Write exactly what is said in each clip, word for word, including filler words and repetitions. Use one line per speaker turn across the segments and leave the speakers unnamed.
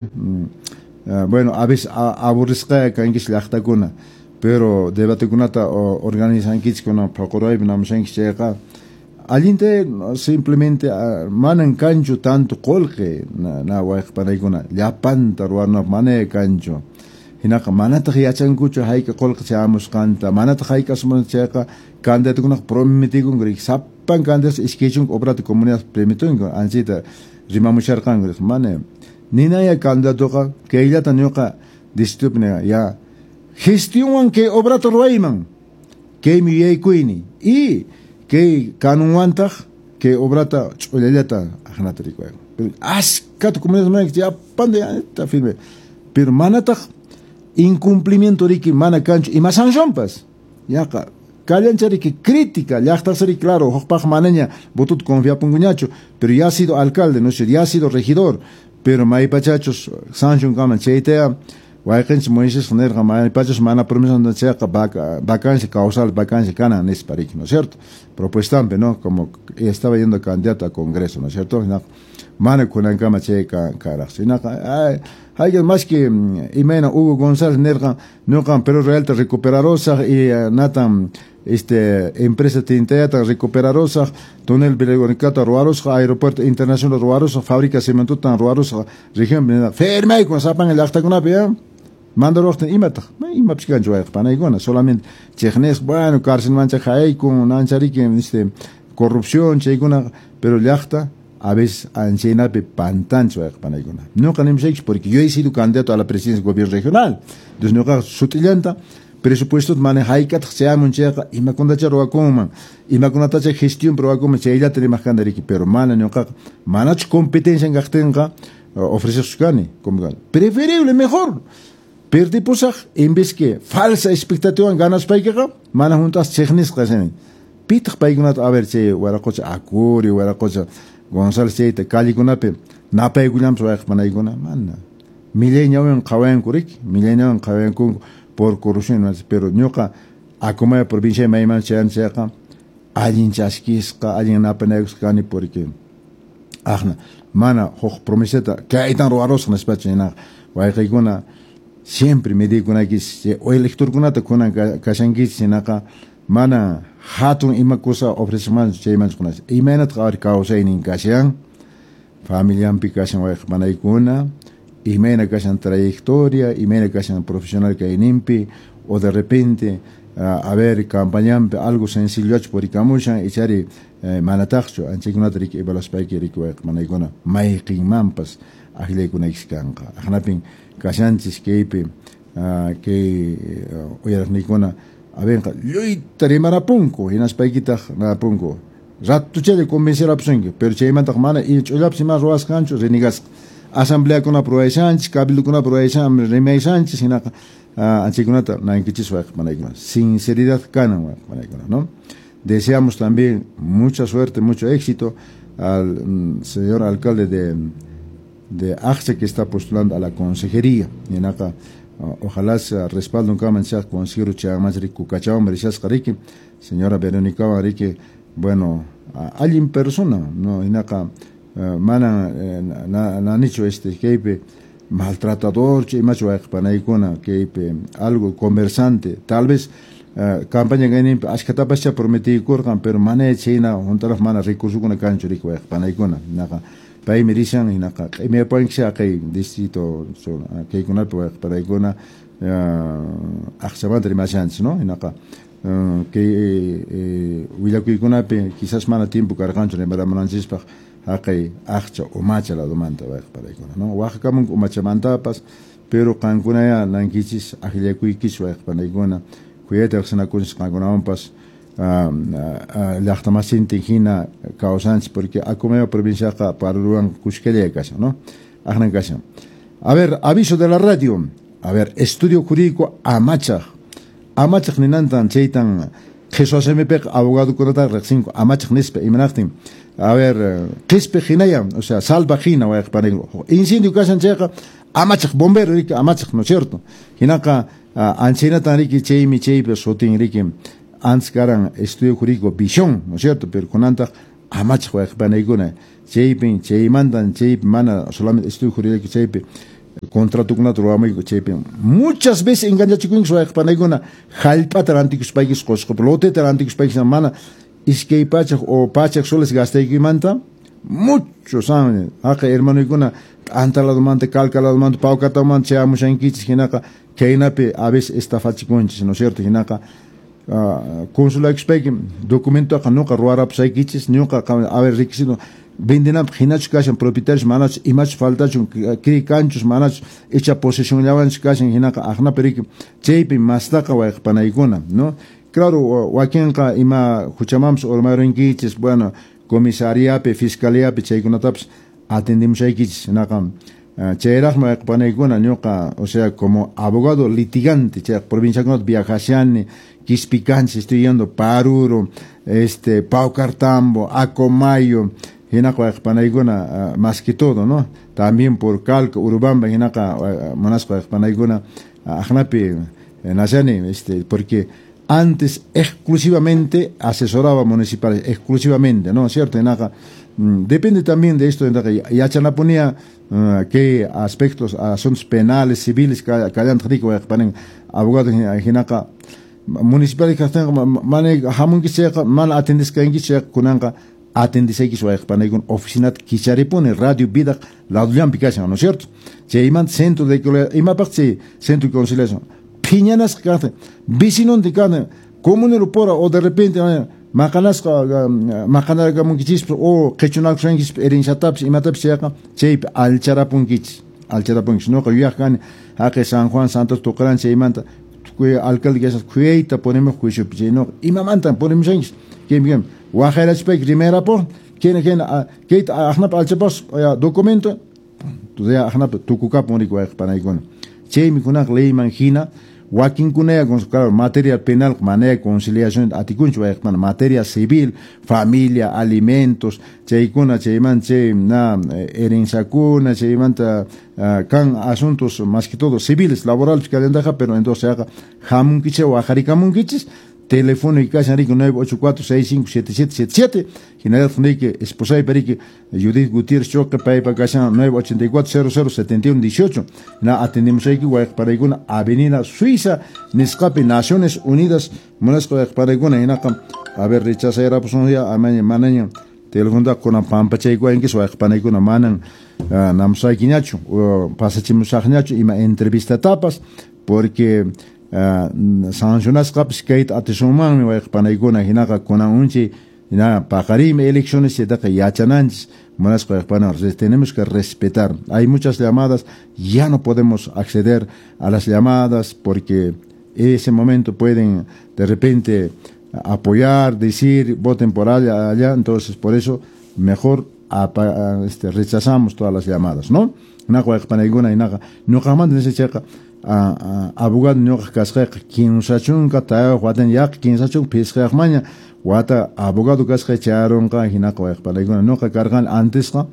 Bueno, a veces aburrisqa kankichis llaqtakuna, pero debatekunata organizankichis kuna phuquraypi namushankichis chayqa allinta simplemente manan kanchu tanto qullqi na, na wayqa panaykuna llapanta ruwanapaq mana kanchu. Hinaqa manataq yachankuchu hayka qullqi chayamusqanta, manataq hayka chayqa candidatukunaqa prometikunku riki sapan candidato iskay chunka obrata comunidad prometunku anchita rimamusharqanku mana ninaya candidatoqa kayllata ñuqa distritopi ya gestionwan kay obrata ruwayman kaymi yuyaykuyni y kay kanunwantaq kay obrata ch'ullallata aqnata rikuyan pero askata comunidad llapanta firme pero manataq incumplimiento riki mana kanchu ima sancionpas yaqa kallancha riki crítica llaqtasri claro hukpaq manaña votota confiapunkuñachu pero ya ha sido alcalde no sé ya ha sido regidor pero maypachachus sanción kaman chaytaya wayqinchik Moisés nirqa maypachus mana promesa chayqa vacancia causal vacancia kanan nispa riki, ¿no es cierto? Propuestampi, ¿no? Como estaba yendo candidato a congreso, ¿no es cierto? Mana kunankama chay karaq hinaqa hay más que imayna Hugo González nirqa ñuqam Perú Realta recuperarusaq y natan este empresa tintayata recuperarusaq túnel Verónicata ruwarusaq aeropuerto internacional ruwarusaq fábrica cementotan ruwarusaq región firmaykun sapan llaqtakunapi ya mandaruqtin imataq imapish kanchu wayqa panaykuna solamente chiqnisqa bueno cárcelmancha haykun nanchariki este corrupción chaykuna pero llaqta a veces anchaynapi pantanchu wayqa panaykuna ñuqa nimushaykichik porque yo he sido candidato a la presidencia del gobierno regional entonces ñuqa sut'illanta presupuesto mana hayk'ataq chayamun chayqa imakunatacha ruwakunman imakunatacha gestión ruwakunman chayllata rimaq kani riki pero mana ñuqaqa manachu competencia kaqtinqa ofrecersu kani como preferible mejor perdipusaq en vez que falsa expectativa ganaspaykiqa mana juntas chiqnisqa kasani pitaq paykunata a ver chay waraqocha Acurio waraqocha González chayta callekunapi napaykullanpas wayqa panaykuna mana millay ñawiwan qhawayanku riki millay ñawiwan qhawayanku por corrupción pero ñuqa Acomayo provincia mayman chayan chayqa allin chaskisqa allin napanaykusqa kani porque aqna mana huk promesata kaytan ruwarusaq nispachu hinaqa wayqiykuna siempre medikunaykichis electorkunata kunan kashankichis hinaqa mana hatun ima cosa ofrecesmanchu chaymanchu kunachis imaynataq a ver kawsaynin kashan familianpi kashan wayqa panaykuna imayna kashan trayectoria imayna kashan profesional kayninpi o de repente a ver campañanpi algo sencillochu purikamushan ichari manataqchu anchaykunata riki evaluaspayki riki wayqa panaykuna mayqinmanpas akllaykunaykichis kanqa aqnapin kashanchis kaypi kay uyariqniykuna a ver lluyta rimarapunku hinaspaykitaq napunku ratuchalla convencerapusunki pero chaymantaq mana ch'ullapis ima ruwasqanchu renegasqa asambleakunapi ruwaysanchis cabildokunapi ruwaysan rimaysanchis hinaqa anchaykunata nankichis wayqa panaykuna sinceridad kanan wayqa panaykuna, ¿no? Deseamos también mucha suerte, mucho éxito al señor alcalde de de Aqcha que está postulando a la consejería hinaqa ojalá se respaldo kaman chay consejero chayamanchik riki Kukachawan rishasqa riki señora Verónica riki bueno allin persona no hinaqa mana nanichu este kaypi maltratador imachu wayqa panaykuna kaypi algo conversante tal vez campaña kayninpi ashkatapascha prometiykurqan pero mana chayna huntaraq mana recursokuna kanchu riki wayqa panaykuna hinaqa paymi rishan hinaqa q'imiyapuwankichis haqay distrito kaykunapi wayqa panaykuna Aqchamanta rimashanchis no hinaqa kay willakuykunapi quizás mana tiempo karqanchu rimaramunanchispaq haqay Aqcha Umacha ladomanta wayqa panaykuna no waqakamunku Umachamantapas pero qankunaya nankichis akllakuykichis wayqa panaykuna khuyayta riqsinakunchis qankunawanpas llaqtamasintin hina kawsanchis porque Acomayo provinciaqa Parurwan kuskalla kashan no aqnan kashan. A ver, aviso de la radio. A ver, estudio jurídico Amachaq. Amachaq ninantan chaytan qhichwa simipiqa abogadokunata riqsinku amachaq nispa imanaqtin. A ver, qhispi hinaya, o sea, salva hina wayqa panaykuna. Incendio kashan chayqa amachaq bombero riki amachaq, ¿no es cierto? Hinaqa anchaynatan riki chaymi chaypi sutin riki antes karan estudio jurídico Visión, ¿no es cierto? Pero kunantaq amachaq wayqa panaykuna chaypin chaymantan chaypi mana solamente estudio jurídico chaypi Contratokunata ruwamuyku chaypi muchas veces engañachikunki wayqipanaykuna hallp'ata rantikuspaykichis Qusqupi loteta rantikuspaykichis mana iskay pachak o pachak soles gastaykimanta mucho saben haqay hermanoykuna Anta ladomanta Calca ladomanta Paucartamanta chayamushankichis hinaqa kaynapi a veces estafachikunchis, ¿no es cierto? Hinaqa consulaykuspayki documentoqa ñuqa ruwarapusaykichis ñuqa a ver requisito vendenapaq hinachu kashan propietarios manachu imachu faltachun kri kanchus manachu icha posesionllawanchu kashan hinaqa aqnapi riki chaypi mastaqa wayqipanaykuna, ¿no? Claro, wakinqa ima huchamanpas urmarinkichis, bueno, comisariapi, fiscaliapi chaykunatapas atendimushaykichis hinaqa chayraqmi wayqipanaykuna ñuqa, o sea, como abogado litigante chay provinciakunata viajashani Quispicanchis, estoy yendo Paruro, este, Paucartambo, Acomayo, hinaqa wayqipanaykuna más que todo, ¿no? También por Calca, Urubamba, hinaqa munasqa wayqipanaykuna aqnapi nashani, este, porque antes exclusivamente asesoraba municipales, exclusivamente, ¿no? ¿Cierto? Hinaqa depende también de esto, hinaqa yachanapunía qué aspectos, asuntos penales, civiles, kallantaq riki wayqipanin abogado hinaqa municipal kaqtinqa mana hamunkichis chayqa mana atendisqankichis chayqa kunanqa atendisaykichis wayqipanaykuna oficinata kicharipuni Radio Vida ladollanpi kashan, ¿no es cierto? Chaymanta centro de imapaq chay centro de conciliación phiñanasqa kaqtin vecinontin kaqtin comunero pura o de repente maqanasqa maqanarakamunkichispas o qichunakushankichispas herenciatapis imatapis chayqa chaypi alcharapunkichis alcharapunkichis ñuqa yuyaq kani haqay San Juan Santos Tuqran chaymanta tukuy alcalde kashan khuyayta ponimuq juiciopi chay ñuqa imamantan ponimushankichis kaymi kaymi waqayrachispayki rimayrapuq kayna kayna kayta aqnapi alchapas documento aqnapi tukukapun riki wayqipanaykuna chaymi kunaqa leyman hina wakinkunaya, claro, materia penal manaya conciliación atikunchu wayqipana materia civil, familia, alimentos chaykuna chaymanta chay na herenciakuna chaymanta kan asuntos más que todo civiles, laborales kallantaqa, pero entonces chayqa hamunkichis waqharikamunkichis teléfono y kashan riki nueve ocho cuatro seis cinco siete siete siete siete hinallataq riki esposaypa riki Judith Gutiérrez Choque paypa kashan nueve ochenta y cuatro cero cero setenta y uno dieciocho na atendimusayki wayqipanaykuna Avenida Suiza nisqapi Naciones Unidas munasqa wayqipanaykuna hinaqa a ver rechazayrapusun ya amaña manaña telefonota kunan pampachaykuwankichis wayqipanaykuna manan namusaykiñachu pasachimusaqñachu ima entrevistatapas porque sancionasqapis kayta atisunmanmi wayqipanaykuna hinaqa kunan unchay hina paqariymi elecciones chaytaqa yachananchis munasqa wayqipana tenemos que respetar. Hay muchas llamadas, ya no podemos acceder a las llamadas porque ese momento pueden de repente apoyar, decir, voten por allá, allá, entonces por eso mejor apa, este, rechazamos todas las llamadas, ¿no? Hinaqa wayqipanaykuna hinaqa ñuqamanta nisqa chayqa abogado ñuqa kasqayqa kimsa chunka tawayuq watan yaqa kimsa chunka phisqayuqmaña wata abogado kasqay chayarunqa hinaqa wayqipanaykuna ñuqa karqani antesqa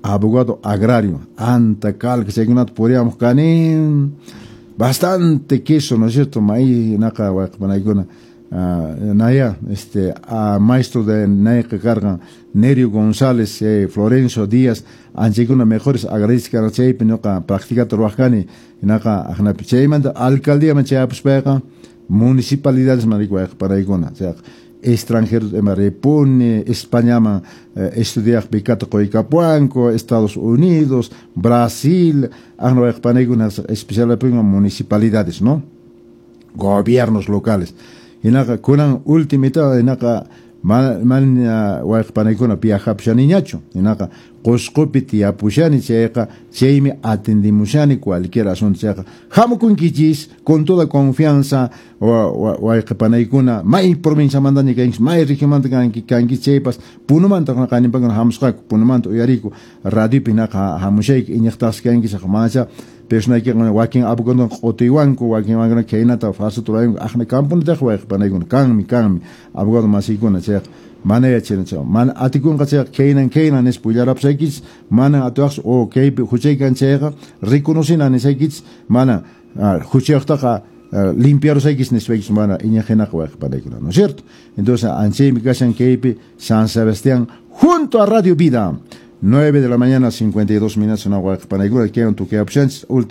abogado agrario Anta Calca chaykunata puriyamuq kani bastante queso, ¿no es cierto? Maíz hinaqa wayqipanaykuna naya este a maestro de nayqa karqan Nerio González, eh, Florencio Díaz anchaykuna mejores agradezcan chaypi ñuqa practicata ruwaq kani hinaqa aqnapi chaymanta alcaldíaman chayapuspayqa municipalidades man riki wayqipanaykuna chayqa extranjeros ima ripuni Españaman eh, estudiaq becata quykapuwanku Estados Unidos, Brasil aqna wayqipanaykuna especialmente municipalidades, ¿no? Gobiernos locales hinaqa kunan ultimita hinaqa mana wayqipanaykuna viajapushaniñachu hinaqa Qusqupi tiyapushani chayqa chaymi atendimushani cualquier asunto chayqa hamukunkichis con toda confianza wayqipanaykuna may provinciamantaña kankichis may regionmanta kankichis chaypas Punomanta qanimpakuna hamusqaku Punomanta uyariku radiopi hinaqa hamushayki iñiqtaqsi kankichis manacha personaykiqa wakin abogadokuna q'utiywanku wakin wakin khaynata falsota ruwanku aqna kampunitaqa wayqipanaykuna kanmi kanmi abogado masiykuna chayqa mana yachana chay mana atikunqa chayqa khaynan khaynan nispa willarapusaykichis mana atiwaqchu o kaypi huchaykan chayqa reconocina nisaykichis mana huchayuqtaqa limpiarusaykichis nispaykichis mana iñiq hinaqa wayqipanaykuna, ¿no es cierto? Entonces anchaymi kashan kaypi San Sebastián junto a Radio Vida. Nueve de la mañana, cincuenta y dos minutos, na waqpanaykuna kaywan tukuyapushanchis.